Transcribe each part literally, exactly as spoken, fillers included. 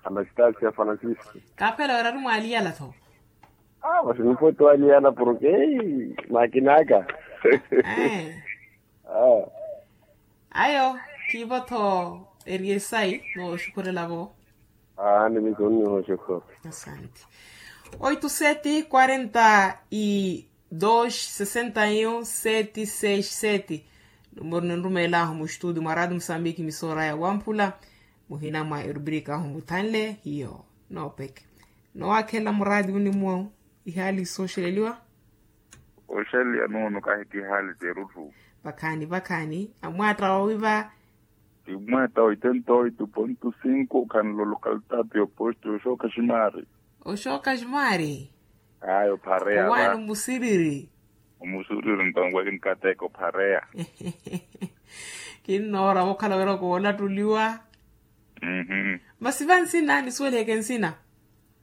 Anastasi ya francisco. Kaphela wera ari mwaliyala tho. Ah, mas nipo twaliyala porke makinaka. Ayo, kivo tho. Eri esai noxukhurela vo. Ah, ni miso nni noxukhura. Asante. Oito sete quarenta e dois sessenta e um sete seis sete. Numero ninrumeelahu muxtudi mwa radi musambiki misoora ya wamphula. Muhina mwa erubrika ahu muthanle hiyo. Noopeke. Nowakhela muradi unimwo. Ihali sooxeleliwa. Oxeliya nuunu kahi ti ihali terutthu. Vakhaani vakhaani amwaatta owiva. Ti mwatta oitenta oito ponto cinco khanlo lokalitaati yoposto oxooka ximari. Oxooka ximari. Ayo phareya owaani omusiriri. Omusiriri ntonkweki nkateeka ophareya. Kinnoora vokhala wira koolattuliwa. Masi vansina nisuweliheke nsina.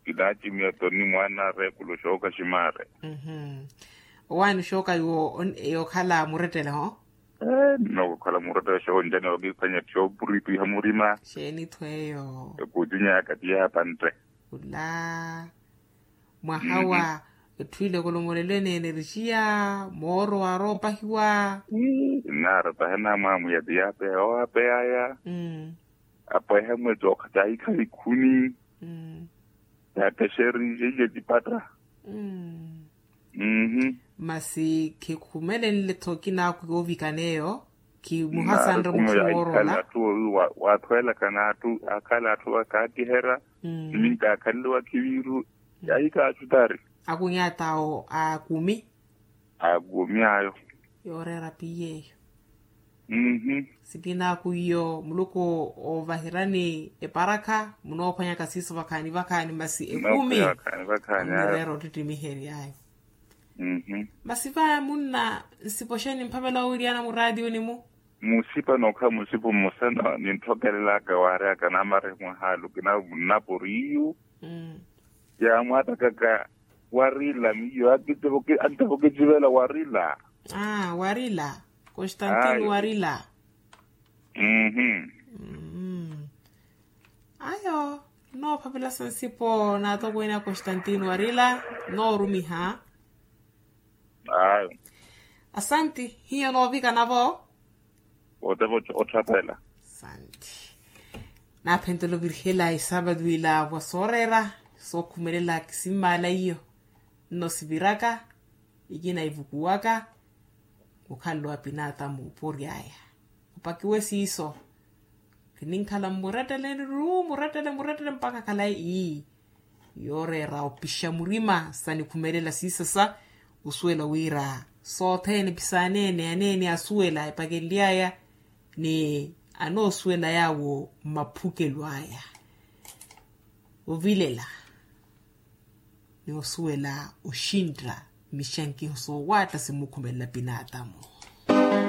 Kinaacimiya toni mwaana areekulo xooka ximari. Owaani xooka yookhala murettele ho. Nnookhala murettele xooka onjani wakiphwanya xoopuripiha murima. Xeeni tho eyo. Ekuucinyaka ti yaapantte. Khula mwaha wa etthu ile kolomolelo eneene ericiya mooro waaroopahiwa. Nnaaroopaha namwamwiya ti yaapeya owaapeyaya. Apeha mwetsi okhatta ahikhala ikhuni. Yaakexeri iye ecipatta. Masi khikhumelenle tho kinaakhu yoovikana eyo. Khimuhasanre mutthu woorola. Waathweelakana atthu akhala atthu akaatiherya. Niminka akhanle wakhiviiru. Yaahikaaxutari. Akunya attaawo akumi. Akumi ayo. Yooreera piye eyo. Sikinaaku iyo muluku oovahirani eparakha munoophwanyaka siiso vakhaani vakhaani masi ekumi. Munireera ottittimihery'ayo. Masi va munna nsipoxeni mphavela owiriyana muraatiyuni-mu. Musipa nookhala musipa mmosa ninthokelelaka waaryaka namarihimwa haalu kinaavo munnaporiyu. Yaamwaattakaka warila miyo anttava okicivela warila. Aa warila. Constantino warila. Ayo. Noophavelasa nsipo naatokweene a constantino warila. Noorumiha. Ayo. Asanti. Hiyo noovikana-vo. Ottapela. Santi. Naaphentela ovirihela esaapatu ila wa sooreera sookhumelela kisimmala iyo. Nno siviraka ikina ivukuwaka. Mukhalelo wa pinaatamu opory'aya opakiwe siiso. Kininkhala mmuretteleni ru murette murette mpakha khalayi ii. Yooreera opixa murima sanikhumelela siisasa. Osuwela wira sothene pisaanene aneene asuwela epakenly'aya ni anoosuwela yaawo mmaphukelo aya. Ovilela ni osuwela oxintta mixankiho soowaatta simmukhumelela pinaatamu.